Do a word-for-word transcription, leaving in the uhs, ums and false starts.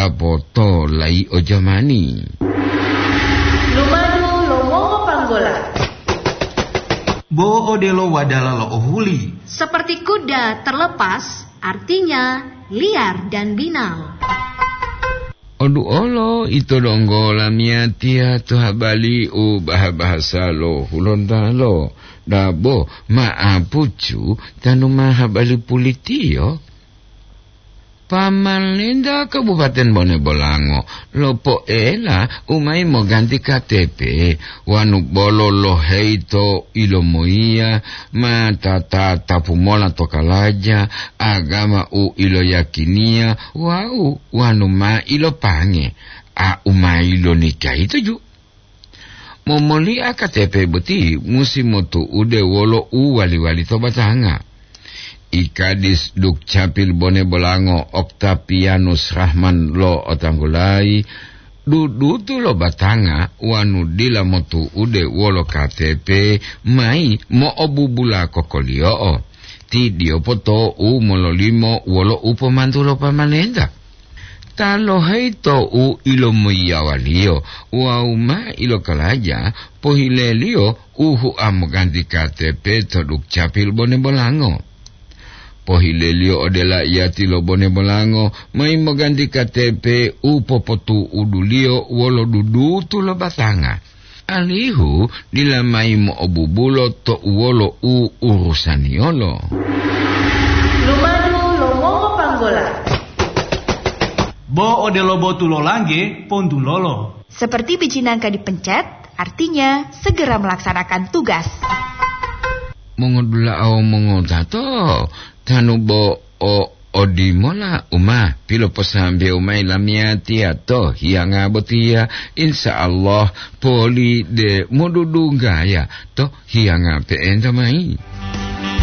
Poto lai o jamani. Lumadu lo mongo panggola. Bo odelo wadala lo ohuli. Seperti kuda terlepas, artinya liar dan binal. Oduolo ito donggo lamiyatiya to habali u baha-bahasa lo Hulontalo. Dabo ma'apucu tanu ma habali pulitiyo. Pamalenta Kabupaten Bone Bolango lopoela u mayi moganti K T P wanu bolo loheyi to ilomoyiya ma tata tapumola to kalaja, agama u iloyakiniya wawu wanu ma ilopange a u ma ilonikayi toju. Momoli'a K T P boti musi motu'ude wolo u wali-wali to batanga. I Kadis Dukcapil Bone Bolango Oktapianus Rahman lo otanggulayi, dudutu lo batanga wanu dila motu'ude wolo K T P mayi mo'obubula kokoliyo'o. Ti diyopo to'u mololimo wolo u pomantu lo pamalenta. Ta loheyi to u ilomoyiyawaliyo wawu ma ilokalaja pohileliyo u hua moganti K T P to Dukcapil Bone Bolango. Pohileliyo ode laiyati lo Bone Bolango mayi moganti K T P u popotu'uduliyo wolo dudutu lo batanga, alihu dila mayi mo'obubulo to uwolo u urusaniyolo. Lumadu lo mongo panggola. Bo odelo botu lo langge, pontulolo. Seperti biji nangka dipencet, artinya segera melaksanakan tugas. Mongodula'a wawu mongotato, tanu bo o odimola u ma piloposambewu mayi lamiyatiya to hiyanga botiya, insya Allah poli de modudunggaya to hiyanga pe'enta mayi.